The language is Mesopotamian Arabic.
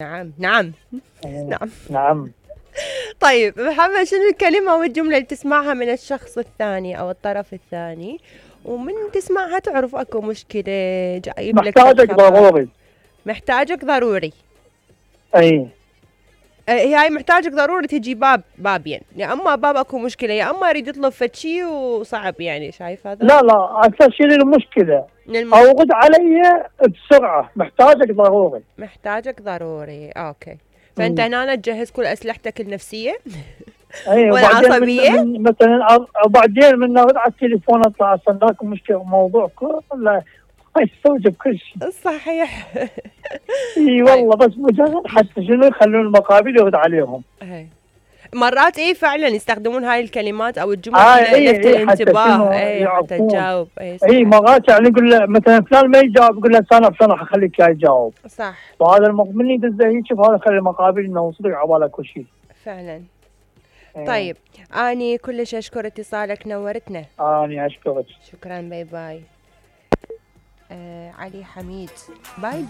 نعم نعم نعم. نعم. طيب محمد، شنو الكلمة والجملة اللي تسمعها من الشخص الثاني أو الطرف الثاني ومن تسمعها تعرف أكو مشكلة جايب لك محتاجك ضروري. محتاجك ضروري. اي هاي محتاجك ضروري تجي بابين، يا اما باب اكو مشكله يا اما يريد يطلب فد شي وصعب، يعني شايف هذا؟ لا اكثر شيء المشكله اوقد علي بسرعه، محتاجك ضروري. محتاجك ضروري، اوكي. فانت هنا تجهز كل اسلحتك النفسيه اي والعصبيه مثلا، وبعدين من نرد على التليفون اطلع استناكم مشكله موضوع كله يستوجب كل شيء. صحيح. اي والله، بس مجرد حتى شنو يخلون المقابل يرد عليهم. مرات فعلا يستخدمون هاي الكلمات او الجمل للفت الانتباه، حتى تجاوب. اي مرات يعني يقول له مثلا فلان ما يجاوب، يقول له انا بسرعه حخليك يجاوب. صح. وهذا من يدزه هيك، وهذا خلي المقابل انه يوصلك عباله كل شيء. فعلا. طيب اني كلش اشكر اتصالك، نورتنا. اني اشكرك. شكرا، باي باي. علي حميد، باي باي.